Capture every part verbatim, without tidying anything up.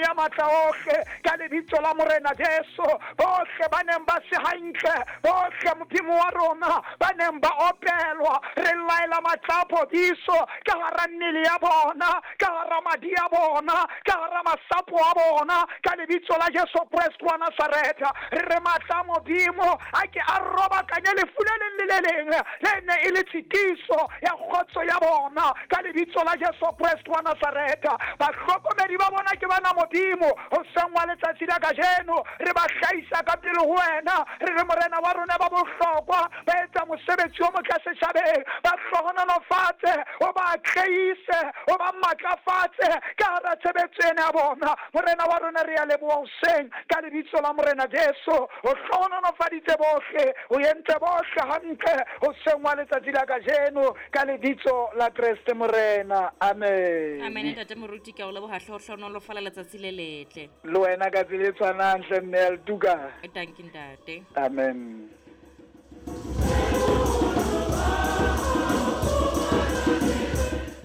ya matla ohle, ka lebitso la Morena Jesu. Bohle ba neng ba se hantle, bohle Modimo wa rona ba neng ba opelwa, re laela matla a phodiso ka hara mmele ya bona, ka hara madi a bona, ka hara masapo a bona, ka lebitso la Jesu Kreste wa Nazaretha. Re re matla a Modimo a ke a robakanye lefu le leng le le leng le ne e le tshitiso ya kgotso ya bona, ka lebitso la Jesu Kreste wa Nazaretha. Bahlokomedi ba bona ke bana Modimo, hoseng wa letsatsi la kajeno re ba hlahisa ka pele ho wena. Re re Morena wa rona ba bohlokwa, ba etsa mosebetsi o motle setjhabeng, ba hlohonolofatse, o ba atlehise, o ba matlafatse ka hara tshebetso ena ya bona. Morena wa rona re a leboha hoseng ka lebitso la Morena Jesu. O hlohonolofaditse bohle, o entse bohle hantle hoseng wa letsatsi la kajeno, ka lebitso la Kreste Morena. Amen. Amen. Ntate Moruti, ke a o leboha hle, o hlohonolofala letsatsi le letle. Le wena ka tsela e tshwanang hle, mme Altuka. Dankie ntate. Amen.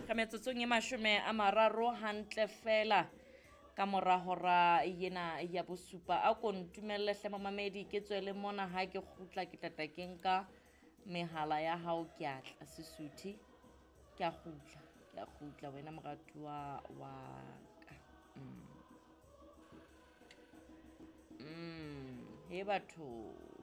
Ka metsotsong e mashome a mararo hantle fela ka mora hora yena ya bosupa, a ko ntumelle hle mamamedi ke tswele mona. Ha ke kgutla ke tla ke nka mehala ya hao, ke a tla Sesotho, ke a kgutla, ke a kgutla wena moratuwa wa ka. Mm. Mm, he batho.